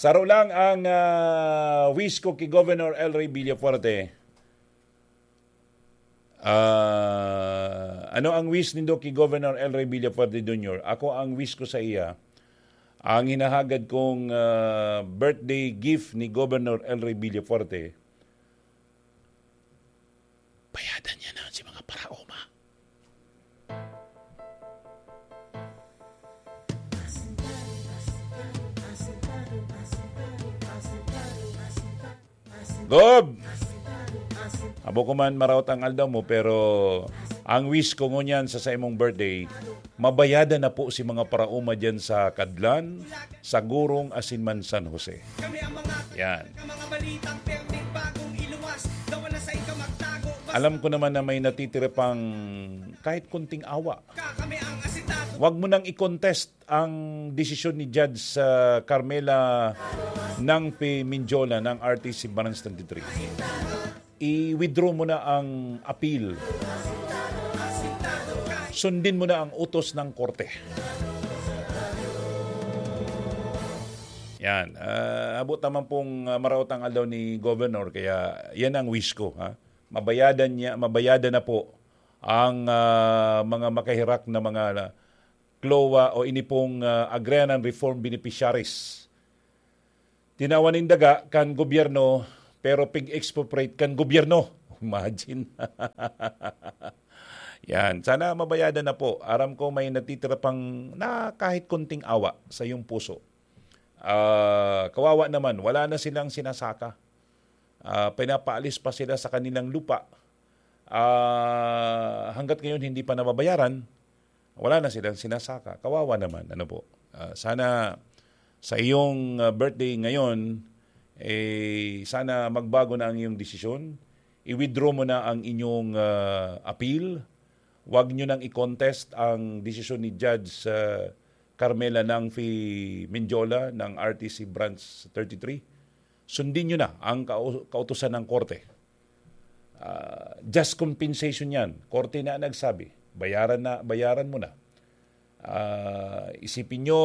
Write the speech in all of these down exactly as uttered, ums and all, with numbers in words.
Saro lang ang, ah, wish ko ki Governor El Rey Villafuerte. Ah, ano ang wish nindo ki Governor El Rey Villafuerte Junior? Ako, ang wish ko sa iya, ang hinahagad kong, ah, birthday gift ni Governor El Rey Villafuerte, bayadan niya na si mga paraoma. Gob! Abo ko man maraot ang aldaw mo, pero ang wish ko ngunyan sa, sa imong birthday, mabayadan na po si mga paraoma dyan sa Kadlan, sa Gurong, asin man San Jose. Yan. Alam ko naman na may natitira pang kahit konting awa. Wag mo nang i-contest ang desisyon ni Judge, ah, Carmela Nangfi Mendiola ng R T C Branch twenty-three. I-withdraw mo na ang appeal. Sundin mo na ang utos ng korte. Yan. Ah, abot naman pong, ah, maraot ang aldaw ni Governor, kaya yan ang wish ko, ha? Mabayadan niya, mabayadan na po ang, ah, mga makahirak na mga CLOA o ini pong, ah, Agrarian Reform Beneficiaries. Tinawan nin daga kan gobyerno, pero pig-expropriate kan gobyerno. Imagine. Yan. Sana mabayadan na po. Aram ko may natitira pang na kahit konting awa sa iyong puso. Ah, kawawa naman, wala na silang sinasaka. Ah, pinapaalis pa sila sa kanilang lupa. Ah, hangga't ngayon hindi pa nababayaran, wala na silang sinasaka. Kawawa naman, ano po. Ah, sana sa iyong, ah, birthday ngayon, eh, sana magbago na ang iyong desisyon. I-withdraw mo na ang inyong, ah, appeal. Huwag nyo nang i-contest ang desisyon ni Judge, ah, Carmela Nangfi Mendiola ng R T C Branch thirty-three. Sundin nyo na ang kau-, kautusan ng korte. Ah, just compensation yan. Korte na nagsabi. Bayaran na, bayaran mo na. Ah, isipin nyo,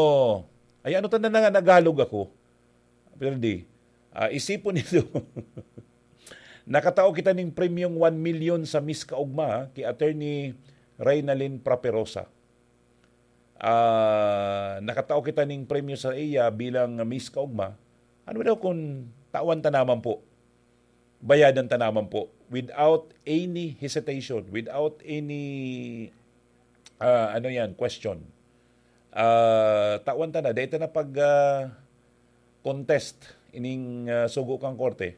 ay, ano ta na nga Nagalog ako? Pero di, ah, isipon nito. Nakatao kita ning premyong one million sa Miss Kaugma, ha, ki Attorney Reynalyn Praperosa. Ah, nakatao kita ning premyo sa iya bilang Miss Kaugma. Ano daw kung tawan ta naman po? Bayadan ta naman po. Without any hesitation, without any, ah, ano yan, question. Ah, tawan ta na. Dahil ta na pag, ah, contest ining, ah, sugo kang korte.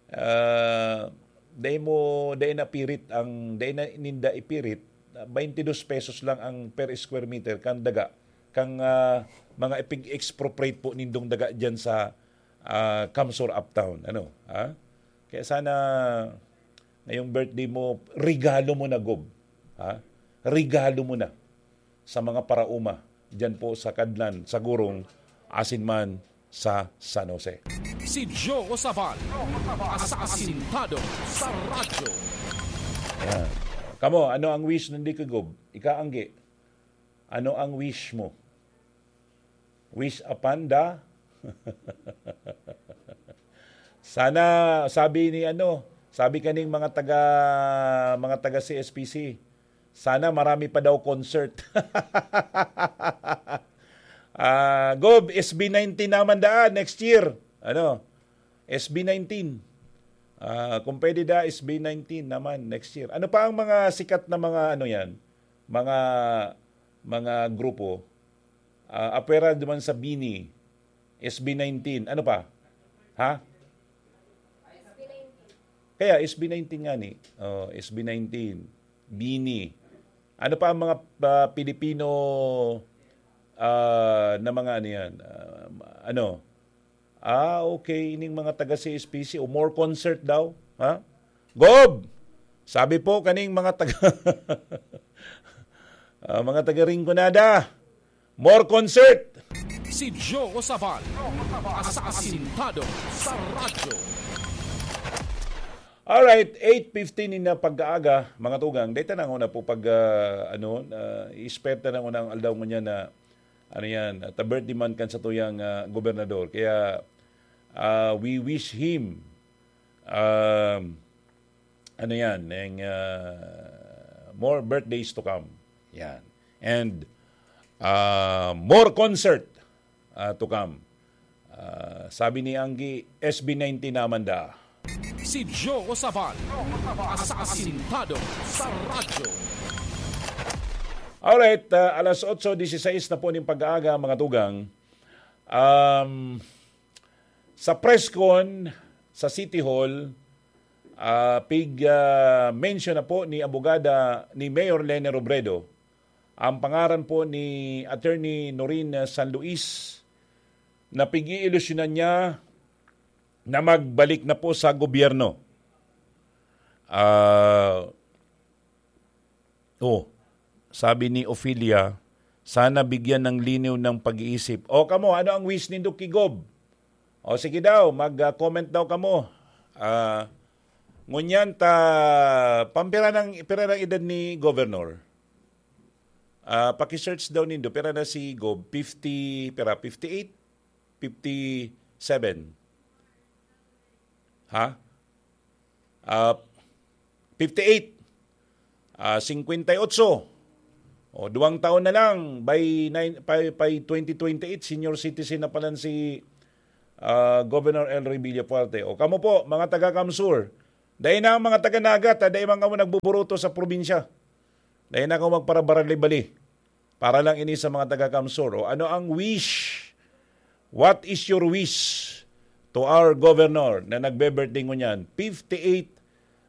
Ah, dai mo, dai na pirit ang, dai na ninda ipirit, ah, twenty-two pesos lang ang per square meter kan daga, kang, ah, mga ipig-expropriate po nindong daga diyan sa, ah, Kamsur Uptown. Ano? Ha? Kaya sana ngayong birthday mo, regalo mo na, Gob. Ha? Regalo mo na sa mga paraoma diyan po sa Kadlan, sa Gurong, asin man sa San Jose. Si Joe Sabal, asasintado sa radyo. Ayan. Kamo, ano ang wish nindi ki Gob? Ika, Angge, ano ang wish mo? Wish upon the Sana, sabi ni ano, sabi kaning mga taga, mga taga C S P C, sana marami pa daw concert. Ah, Gob, S B nineteen naman daan next year. Ano? S B nineteen. Ah, kung pwede da, S B nineteen naman next year. Ano pa ang mga sikat na mga ano yan? Mga, mga grupo? Ah, apwera naman sa BINI, S B nineteen. Ano pa? Ha? Kaya S B nineteen nga ni. Oh, S B nineteen, BINI. Ano pa ang mga, ah, Pilipino, ah, na mga ano yan? Ah, ano? Ah, okay. Ining mga taga C S P C, o more concert daw. Ha? Gob! Sabi po kaning mga taga, ah, mga taga Rinconada, more concert! Si Joe Sabal, asasintado sa radyo. Alright, eight fifteen na pagkaaga, mga tugang. Dahil na una po pag, ah, ano, ah, i-spare ta na una ang aldaw ngunyan na ano yan, ta birthday month kan satuyang, ah, gobernador. Kaya, ah, we wish him, um, ano yan, ng, ah, more birthdays to come. Yan. And, ah, more concert, ah, to come. Ah, sabi ni Anggi, S B ninety naman da. Si Joe Sabal, asasintado sa radyo. Alright, ah, alas otso disisais na po ning pag-aaga, mga tugang. Um, sa press con sa City Hall, ah, pig, ah, mention na po ni abogada ni Mayor Lene Robredo ang pangaran po ni Attorney Noreen San Luis na pig-iilusyonan niya na magbalik na po sa gobyerno. Ah, oh, sabi ni Ophelia, sana bigyan ng linaw ng pag-iisip. O kamo, ano ang wish nindo ki Gob? O sige daw, mag-comment daw kamo. Ah, ngunyan ta, pampira ng, pira ng edad ni Governor? Ah, paki-search daw nindo, pira na si Gob? fifty, pira? fifty-eight? fifty-seven? Ha? Ah, fifty-eight. Ah, singkwenta y otso. O, duwang taon na lang, by, nine, by, by twenty twenty-eight, senior citizen na palan si, ah, Governor El Rey Villafuerte. O, kamo po, mga taga-Camsur, dai na ang mga taga-Naga, ta dai man kamo nagbuburuto sa probinsya. Dai na kamo magparabarali-bali. Para lang ini sa mga taga-Camsur. O, ano ang wish? What is your wish to our governor na nagbe-birthday ngunyan? Fifty-eight,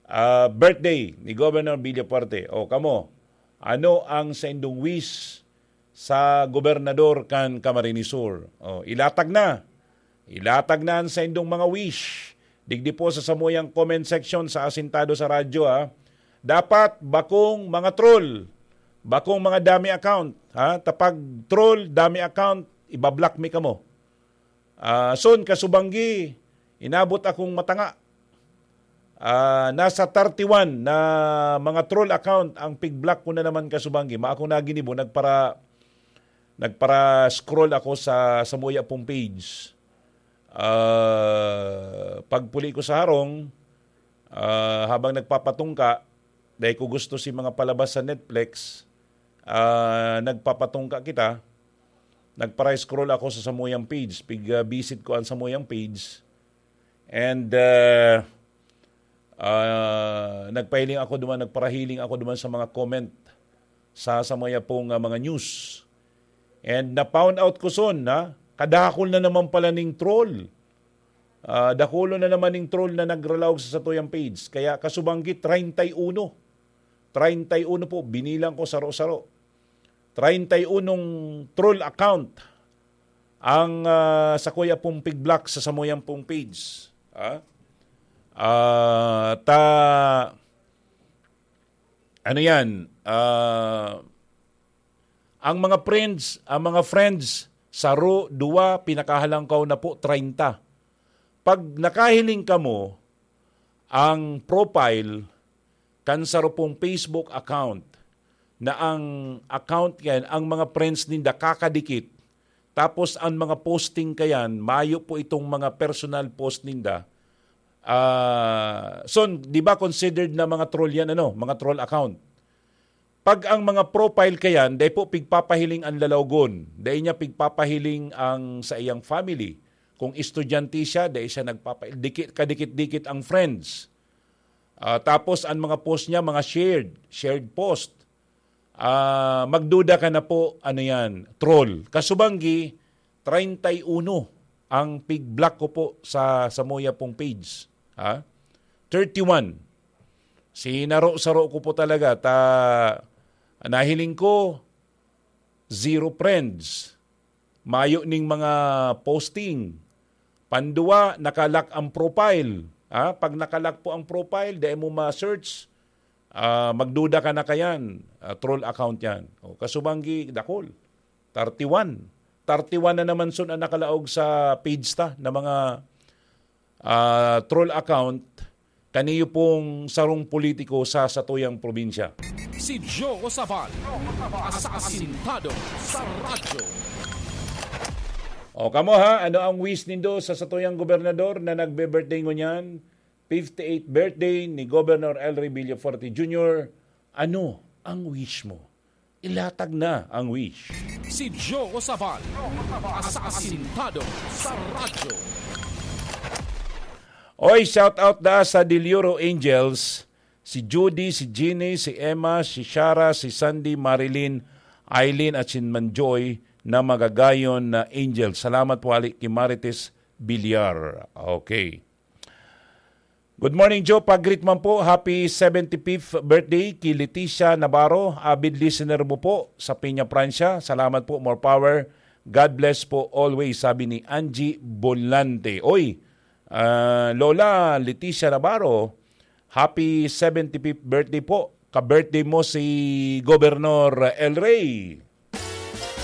ah, birthday ni Governor Villafuerte. O, kamo, ano ang saindong wish sa gobernador kan Camarines Sur? O, ilatag na. Ilatag na an saindong mga wish. Digdi po sa samuyang comment section sa Asintado sa Radyo, ha. Dapat bakong mga troll, bakong mga dummy account, ha. Ta pag troll, dummy account, ibablock mi kamo. Ah, son, kasubanggi, inabot akong matanga. Ah, nasa thirty-one na mga troll account ang pig-block ko na naman, kasubanggi. Maakong naginibo, nagpara-, nagpara-scroll ako sa, sa muya pong page. Ah, pagpuli ko sa harong, ah, habang nagpapatungka, dahil ko gusto si mga palabas sa Netflix, ah, nagpapatungka kita, nagpara-scroll ako sa samuyang page, pig-visit ko ang samuyang page, and, ah, ah, nagpahiling ako duman, nagparahiling ako duman sa mga comment sa, sa mga pong, ah, mga news. And na-found out ko son, ha? Kadakol na naman pala ning troll. Ah, dakulon na naman ning troll na nagralaog sa satuyang page. Kaya kasubanggi, treinta y uno. Treinta y uno po, binilang ko saro-saro. Treinta y unong troll account ang, ah, sakuya pong pig-block sa samuyang pong page. Ha? Ah, ta, ano yan? Ah, ang mga friends, ang mga friends, saro, duwa, pinakahalangkaw na po, treinta. Pag nakahiling kamo, ang profile kan saro pong Facebook account, na ang account yan, ang mga friends ninda kakadikit, tapos ang mga posting kayan, mayo po itong mga personal post ninda. Ah, so, di ba considered na mga troll yan, ano? Mga troll account. Pag ang mga profile kayan, dai po pigpapahiling ang lalawgon, dai niya pigpapahiling ang sa iyang family. Kung estudyante siya, dai siya nagpapa-, dikit, kadikit-dikit ang friends. Ah, tapos ang mga post niya, mga shared, shared post. Ah, magduda ka na po, ano yan, troll. Kasubanggi, treinta y uno ang pig-block ko po sa, sa muya pong page. Ha? Thirty-one. Sinaro-saro ko po talaga. Ta, nahiling ko, zero friends. Mayo ning mga posting. Panduwa, nakalock ang profile. Ha? Pag nakalock po ang profile, dai mo ma-search, ah, magduda ka na kayan. Ah, troll account yan. O, kasubanggi, dakol. Thirty-one. Thirty-one na naman sun ang nakalaog sa page ta na mga, ah, troll account. Kaniyo pong sarong politiko sa satuyang probinsya. Si Joe Sabal, asasintado sa radyo. O kamo ha, ano ang wish nindo sa satuyang gobernador na nagbe-birthday ngunyan? Fifty-eighth birthday ni Governor Elry Villafuerte Junior. Ano ang wish mo? Ilatag na ang wish. Si Joe Sabal, asasintado sa radyo. Oy, shout out da sa Dilioro Angels. Si Judy, si Jeannie, si Emma, si Shara, si Sandy, Marilyn, Eileen at si Manjoy na magagayon na angel. Salamat po hali ki Marites Villar. Okay. Good morning, Joe. Pag-greet man po, happy seventy-fifth birthday ki Leticia Navarro. Avid listener mo po sa Peña, Francia. Salamat po. More power. God bless po always, sabi ni Angie Volante. Oy, ah, Lola Leticia Navarro, happy seventy-fifth birthday po. Ka-birthday mo si Gobernador El Rey.